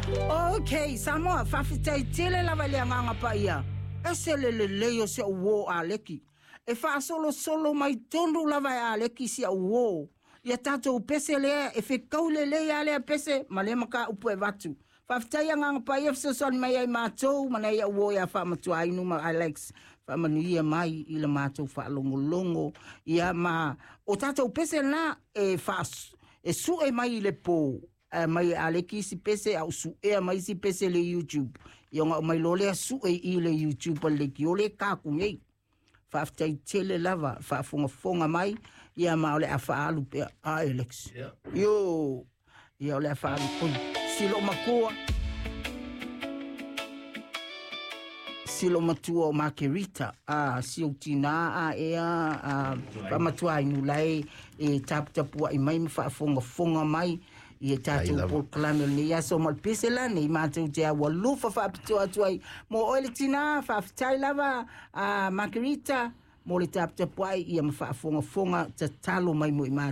Ok, Samoa, faafetai tele lava i le Agaga Paia. Ese le lelei o si au uo Aleki. E faasolosolo mai tonu lava e Aleki si au uo. Ia tatou pese lea e fekau lelei a lea pese ma lea mataupu e avatu. Faafetai Agaga Paia fesoasoani mai ai matou ma nai au uo ia Faamatuainu ma Alex. Faamanuia mai i le matou faalogologo. Ia ma o tatou pese la e faa e sue mai i le po mai e Aleki isi pese a o suea mai isi pese le YouTube. Ia ona aumai loa lea sue i le YouTube a le leitio le kaku nei. Faafetai tele lava faafogafoga mai ia ma o le a faaalu pea. A Alex. Io. Ia o le a faaalu pui. Silo matua. Silo matua o Makerita. A si ou tina a ea a faamatuainu lai e taputapuai mai ma faafogafoga mai i e tatou polokalame o lenei aso ma le pese la nei matou te aualofa faapitoa atu ai mo oe le tina. Faafetai lava a Margarita mo le taputapuai ia ma faafogafoga tatalo mai mo i matou.